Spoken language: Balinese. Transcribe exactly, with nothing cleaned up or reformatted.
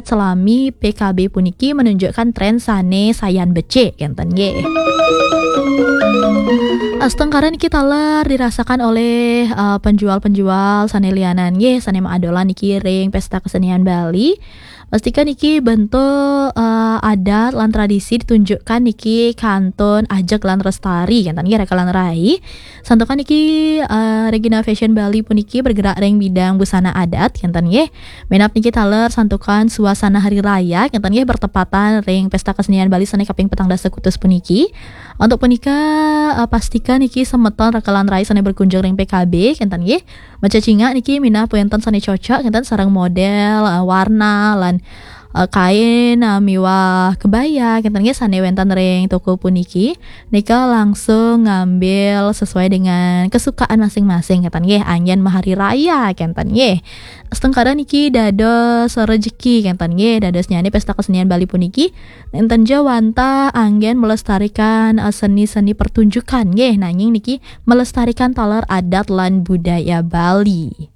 selami P K B puniki menunjukkan tren sane sayan becik, kenten nggih. Astungkara niki taler dirasakan oleh, eh, penjual-penjual sane lianan nggih, sane maadolan niki ring Pesta Kesenian Bali. Pastika niki bentuk, eh, adat lan tradisi ditunjukkan niki kantun ajeg lan lestari, kenten nggih, raka lan rai. Santukan niki, eh, Regina Fashion Bali puniki bergerak ring bidang busana adat, kenten nggih. Minab niki taler santukan suasana hari raya, kenten nggih, bertepatan ring Pesta Kesenian Bali sane kaping petang dasa kutus puniki. Untuk punika, eh, pastika niki semeton raka lan rai sane berkunjung ring P K B, kenten nggih, macecingak niki minab wenten sane cocok, kenten, sareng model, eh, warna, lan, eh, kain, eh, miwah kebaya, kenten nggih, sane wenten ring toko puniki. Nika langsung ngambil sesuai dengan kesukaan masing-masing, kenten nggih, anggen mahari raya, kenten nggih. Astungkara niki dados rejeki, kenten nggih, dadosnyane Pesta Kesenian Bali puniki nenten ja wantah anggen melestarikan, eh, seni-seni pertunjukan nggih, nanging niki melestarikan taler adat lan budaya Bali.